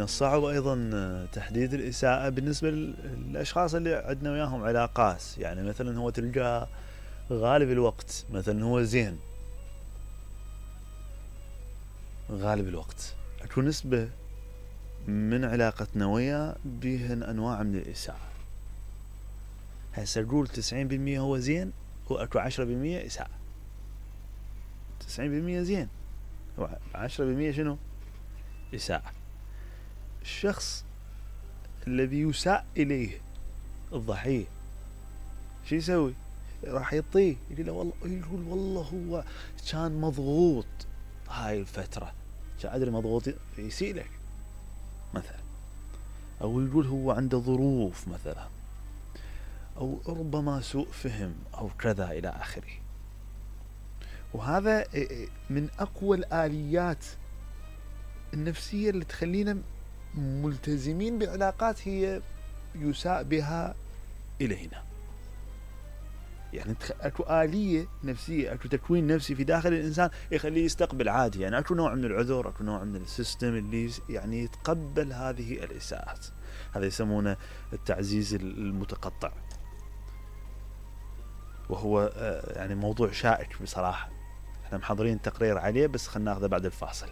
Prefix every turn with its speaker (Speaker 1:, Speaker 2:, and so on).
Speaker 1: الصعب أيضا تحديد الإساءة بالنسبة للأشخاص اللي عندنا وياهم علاقات. يعني مثلا هو تلقاه غالب الوقت مثلا هو زين، غالب الوقت اكو نسبة من علاقتنا وياه بيهن أنواع من الإساءة. هسه نقول 90% هو زين واكو 10% إساءة. 90% زين و10% شنو؟ إساءة. الشخص الذي يساء إليه الضحية شو يسوي؟ راح يطيه، يقول والله هو كان مضغوط هاي الفترة، كان أدري مضغوط، يسيء لك مثلا، أو يقول هو عنده ظروف مثلا، أو ربما سوء فهم أو كذا إلى آخره. وهذا من أقوى الآليات النفسية اللي تخلينا ملتزمين بعلاقات هي يساء بها إلينا. يعني اكو آلية نفسية، اكو تكوين نفسي في داخل الإنسان يخليه يستقبل عادي. يعني اكو نوع من العذر، اكو نوع من السيستم اللي يعني يتقبل هذه الإساءات. هذا يسمونه التعزيز المتقطع، وهو يعني موضوع شائك بصراحة. احنا محضرين تقرير عليه بس خلنا ناخذه بعد الفاصل.